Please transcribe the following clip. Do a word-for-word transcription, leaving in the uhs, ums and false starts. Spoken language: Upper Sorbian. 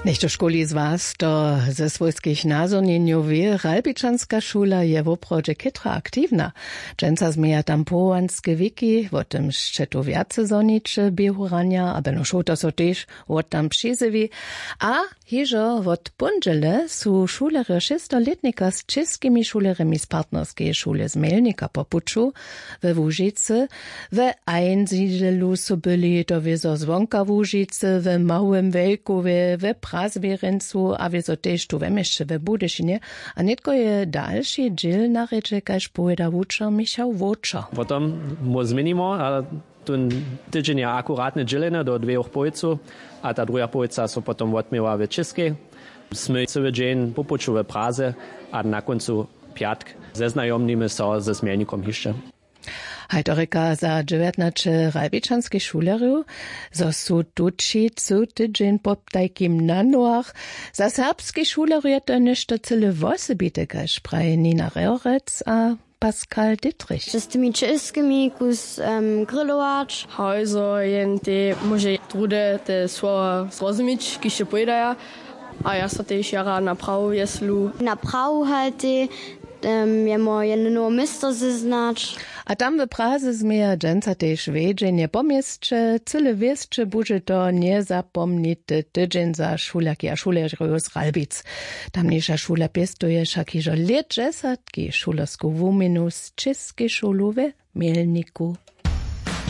Něchtožkuli z was to ze swójskich nazhonjenjow wě, ralbičanska šula je woprawdźe chětro aktiwna. Dźensa změja tam powołanske wiki, wo tym sće tu wjace zhoniće běhu ranja, a beno šołta so tež wot tam přizjewi. A hižo wot póndźele su šulerjo šěstorlětnika z českimi šulerjemi z partnerskeje šule z mělnika po puću we łužicy. We einsiedelu su byli to wězo zwonka łužicy, we małym wejkowje, we prazwěrjencu a wězo tež tu we měsće we budyšinje. A nětko je dalši dźěl na rědźe, kaž powěda wučer michał wowčer. Potom mu změnimo a tón tydźeń je akuratne dźělene do dwejoch połojcow, a ta druha połojca so potom wotměła w českej. Smy cyły dźeń po puću we praze a na kóncu pjatk zeznajomnimy so ze změlnikom hišće. Haj to rěka za dźewjatnaće ralbičanskich šulerjow, zo su tući cył tydźeń po tajkim na nohach. Za serbskich šulerjow je to něšto cyle wosebite, kaž praji Nina Reorec a Pascal Dittrich. Z tymi čěskimi kus grillować. Haj zo jen te móže druhdy te słowa zrozumić, kiž te powědaja. A ja so tež jara na prawu wjeslu. Na prawu haj te jemo jedno nowe město zeznać. A tam w praze změja dźensa tež wjedźenje po měsće, cyle wěsće budźe to njezapomnity tydźeń za šulerki a šulerjow z ralbic. Tamniša šula pěstuje wšak hižo lětdźesatki šulersku wuměnu z čěskej šulu we mělniku.